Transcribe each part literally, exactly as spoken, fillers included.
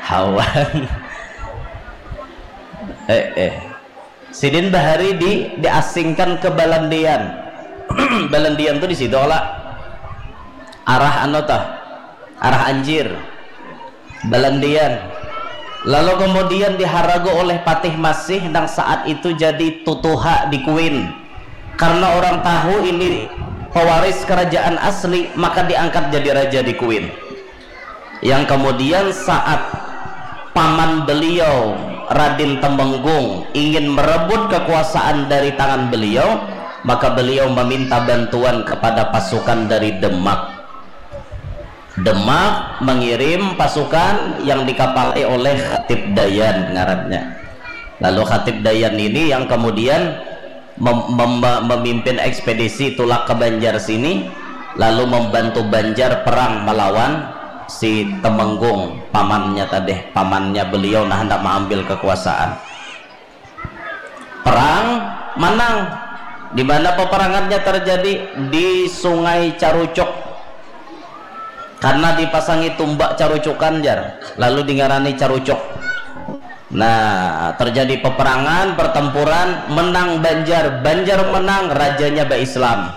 Hawan. Eh, eh. Sidin bahari di diasingkan ke Balandian. Balandian tuh di situ lah. Arah anu tah. Arah Anjir. Balandian. Lalu kemudian diharagu oleh Patih Masih nang saat itu jadi tutuha di Kuin. Karena orang tahu ini pewaris kerajaan asli, maka diangkat jadi raja di Kuin. Yang kemudian saat paman beliau Radin Temenggung ingin merebut kekuasaan dari tangan beliau, maka beliau meminta bantuan kepada pasukan dari Demak. Demak mengirim pasukan yang dikapalai oleh Khatib Dayan ngarannya. Lalu Khatib Dayan ini yang kemudian mem- mem- memimpin ekspedisi tulak ke Banjar sini, lalu membantu Banjar perang melawan si Temenggung, pamannya tadi, pamannya beliau, nah, hendak mengambil kekuasaan. Perang, manang. Di mana peperangannya terjadi? Di Sungai Carucuk. Karena dipasangi tumbak carucukan, jar, lalu dingarani Carucuk. Nah, terjadi peperangan, pertempuran, menang Banjar, Banjar menang, rajanya ba-Islam.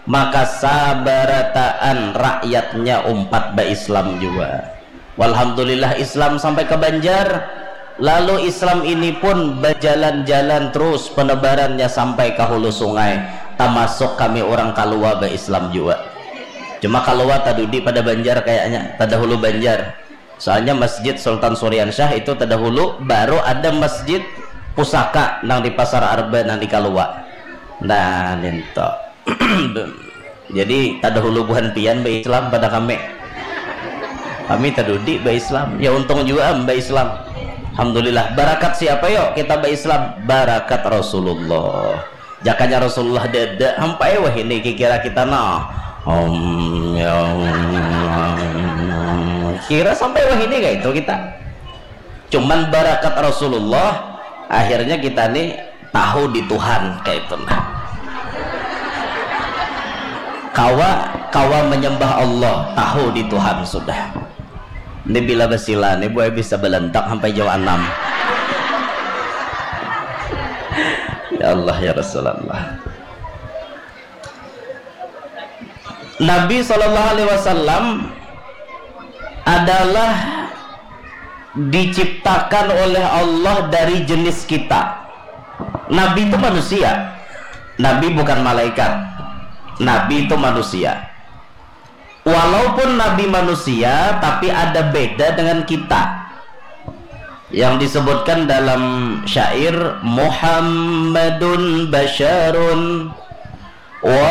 Maka sabarataan rakyatnya umpat ba-Islam juga. Walhamdulillah, Islam sampai ke Banjar. Lalu Islam ini pun berjalan-jalan terus penebarannya sampai ke hulu sungai, termasuk kami orang Kalua ba-Islam juga. Cuma Kalua tadudi pada Banjar kayaknya, tadahulu Banjar. Soalnya Masjid Sultan Suriansyah itu tadahulu, baru ada Masjid Pusaka nang di Pasar Arba nang di Kalua. Nah, ninto. Jadi tadahulu buhan pian ba-Islam pada kami. Kami tadudi ba-Islam. Ya, untung juga am ba-Islam. Alhamdulillah. Barakat siapa yo kita ba-Islam? Barakat Rasulullah. Jakanya Rasulullah dada, sampai wahini kikira kita nah. Om, ya, om. Kira sampai wahini kayak itu kita. Cuman barakat Rasulullah, akhirnya kita nih tahu di Tuhan kayak itu nah. Kawa, kawa menyembah Allah, tahu di Tuhan sudah. Ini bila basila nih, buai bisa balantak sampai jam enam. Ya Allah, ya Rasulullah. Nabi Shallallahu Alaihi Wasallam adalah diciptakan oleh Allah dari jenis kita. Nabi itu manusia. Nabi bukan malaikat. Nabi itu manusia. Walaupun Nabi manusia, tapi ada beda dengan kita. Yang disebutkan dalam syair, Muhammadun basyarun wa